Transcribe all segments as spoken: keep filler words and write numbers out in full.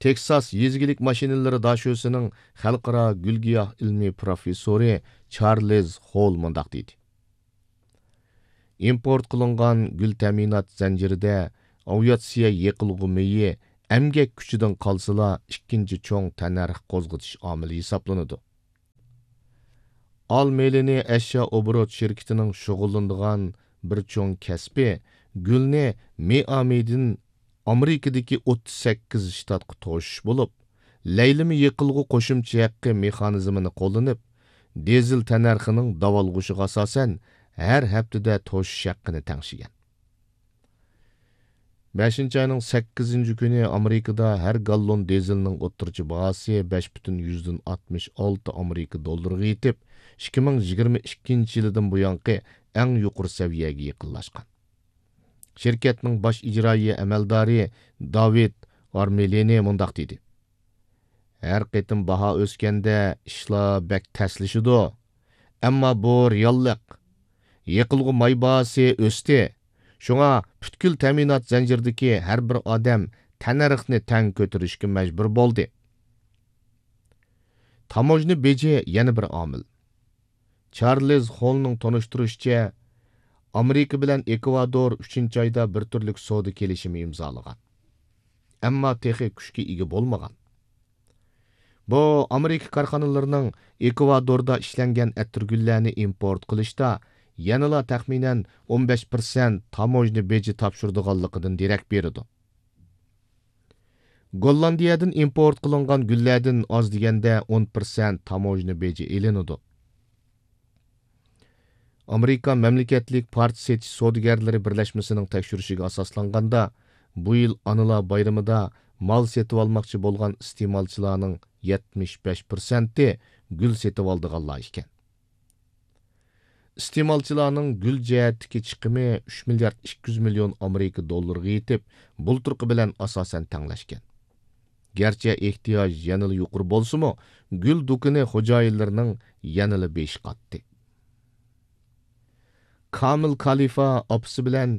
تېكساس يېزا ئىگىلىك ماشىنىلىرى داشۆسىنىڭ خەلقئارا گۈل-گىياھ ئىلمىي پروفېسسورى چارلىز خول مۇنداق دېدى: ئىمپورت قىلىنغان گۈل تەمىنات زەنجىرىدە ئاۋىئاتسىيە يېقىلغۇ مېيى ئەمگەك كۈچىدىن قالسىلا، ئىككىنچى چوڭ تەننەرخ قوزغىتىش ئامىلى ھېسابلىنىدۇ. ئال مېلىنى ئەشيا ئوبوروت شىركىتىنىڭ شۇغۇللىنىدىغان بىر چوڭ كەسپى گۈلنى مېي ئامىيىدىن ئامېرىكىدىكى ئوتتۇز سەككىز شتاتقا توشۇش بولۇپ، لەيلىمە يېقىلغۇ قوشۇمچە ھەققى مېخانىزمىنى قوللىنىپ، دىزېل تەننەرخىنىڭ داۋالغۇشىغا ئاساسەن، ھەر ھەپتىدە توشۇش ھەققىنى تەڭشىگەن. بەشىنچى ئاينىڭ سەككىزىنچى كۈنى ئامېرىكىدا ھەر گاللون دىزېلنىڭ ئوتتۇرىچە باھاسى بەش پۈتۈن يۈزدىن ئاتمىش ئالتە ئامېرىكا دوللىرىغا يېتىپ، ئىككى مىڭ يىگىرمە ئىككىنچى يىلىدىن بۇيانقى ئەڭ يۇقىرى سەۋىيەگە يېقىنلاشقان. شىركەتنىڭ باش ئىجرائىيە ئەمەلدارى داۋىد ئارمېلىنى مۇنداق دېدى: ھەر قېتىم باھا ئۆسكەندە ئىشلار بەك تەسلىشىدۇ. ئەمما بۇ رېئاللىق. يېقىلغۇ ماي باھاسى ئۆستى. شۇڭا پۈتكۈل تەمىنات زەنجىرىدىكى ھەر بىر ئادەم تەننەرخنى تەڭ كۆتۈرۈشكە مەجبۇر بولدى. تاموژنا بېجى يەنە بىر ئامىل. چارلىز خولنىڭ تونۇشتۇرۇشىچە، ئامېرىكا بىلەن ئېكۋادور ئۈچىنچى ئايدا بىر تۈرلۈك سودا كېلىشىمى ئىمزالىغان. ئەمما تېخى كۈچكە ئىگە بولمىغان. بۇ ئامېرىكا كارخانىلىرىنىڭ ئېكۋادوردا ئىشلەنگەن ئەتىرگۈللەرنى ئىمپورت قىلىشتا يەنىلا تەخمىنەن ئون بەش پىرسەنت تاموژنا بېجى تاپشۇرىدىغانلىقىدىن دېرەك بېرىدۇ. گوللاندىيەدىن ئىمپورت قىلىنغان گۈللەردىن ئاز دېگەندە ئون پىرسەنت تاموژنا بېجى ئېلىنىدۇ. ئامېرىكا مەملىكەتلىك پارچە سېتىش سودىگەرلىرى بىرلەشمىسىنىڭ تەكشۈرۈشىگە ئاساسلانغاندا، بۇ يىل ئانىلار بايرىمىدا مال سېتىۋالماقچى بولغان ئىستېمالچىلارنىڭ يەتمىش بەش پىرسەنتى گۈل سېتىۋالىدىغانلار ئىكەن. ئىستېمالچىلارنىڭ گۈل جەھەتتىكى چىقىمى ئۈچ مىليارد ئىككى يۈز مىليون ئامېرىكا دوللىرىغا يېتىپ، بۇلتۇرقى بىلەن ئاساسەن تەڭلەشكەن. گەرچە ئېھتىياج يەنىلا يۇقىرى بولسىمۇ، گۈل دۇكىنى خوجايىنلىرىنىڭ يەنىلا بېشى قاتتى. كامىل كالىفا ئاپىسى بىلەن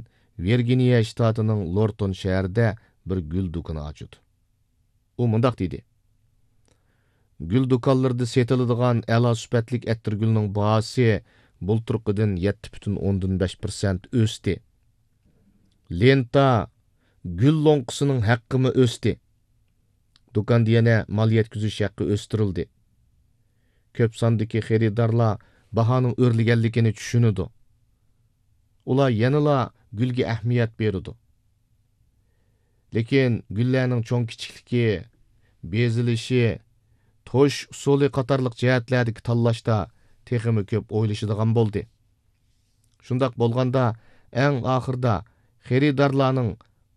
ۋىرگىنىيە شتاتىنىڭ لورتون شەھىرىدە بىر گۈل دۇكىنى ئاچىدۇ. ئۇ مۇنداق دېدى: گۈل دۇكانلىرىدا سېتىلىدىغان ئەلا سۈپەتلىك ئەتىرگۈلنىڭ باھاسى بۇلتۇرقىدىن يەتتە پۈتۈن ئوندىن بەش پىرسەنت ئۆستى. لېنتا، گۈل لوڭقىسىنىڭ ھەققىمۇ ئۆستى. دۇكاندا يەنە مال يەتكۈزۈش ھەققى ئۆستۈرۈلدى. كۆپ ساندىكى خېرىدارلار باھانىڭ ئۆرلىگەنلىكىنى چۈشىنىدۇ. ئۇلار يەنىلا گۈلگە ئەھمىيەت بېرىدۇ. لېكىن گۈللەرنىڭ چوڭ كىچىكلىكى، بېزىلىشى، توشۇش ئۇسۇلى قاتارلىق جەھەتلەردىكى تاللاشتا تېخىمۇ كۆپ ئويلىشىدىغان بولدى. شۇنداق بولغاندا، ئەڭ ئاخىرىدا خېرىدارلارنىڭ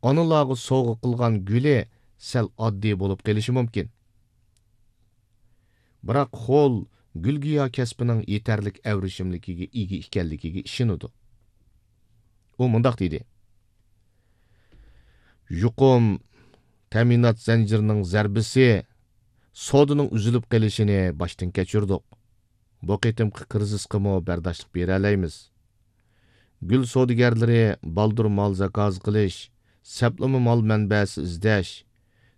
ئانىلارغا سوۋغا قىلغان گۈلى سەل ئاددىي بولۇپ قېلىشى مۇمكىن. بىراق خول گۈل-گىياھ كەسپىنىڭ يېتەرلىك ئەۋرىشىملىكىگە ئىگە ئىكەنلىكىگە ئىشىنىدۇ. ئۇ مۇنداق دېدى: يۇقۇم تەمىنات زەنجىرىنىڭ زەربىسى سودىنىڭ ئۈزۈلۈپ قېلىشىنى باشتىن كەچۈردۇق. بۇ قېتىمقى كىرىزىسقىمۇ بەرداشلىق بېرەلەيمىز. گۈل سودىگەرلىرى بالدۇر مال زاكاز قىلىش، سەپلىمە مال مەنبەسى ئىزدەش،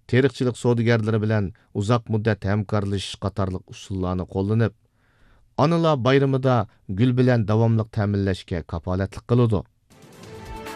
تېرىقچىلىق سودىگەرلىرى بىلەن ئۇزاق مۇددەت ھەمكارلىشىش قاتارلىق ئۇسۇللارنى قوللىنىپ، ئانىلار بايرىمىدا گۈل بىلەن داۋاملىق تەمىنلەشكە كاپالەتلىك قىلىدۇ.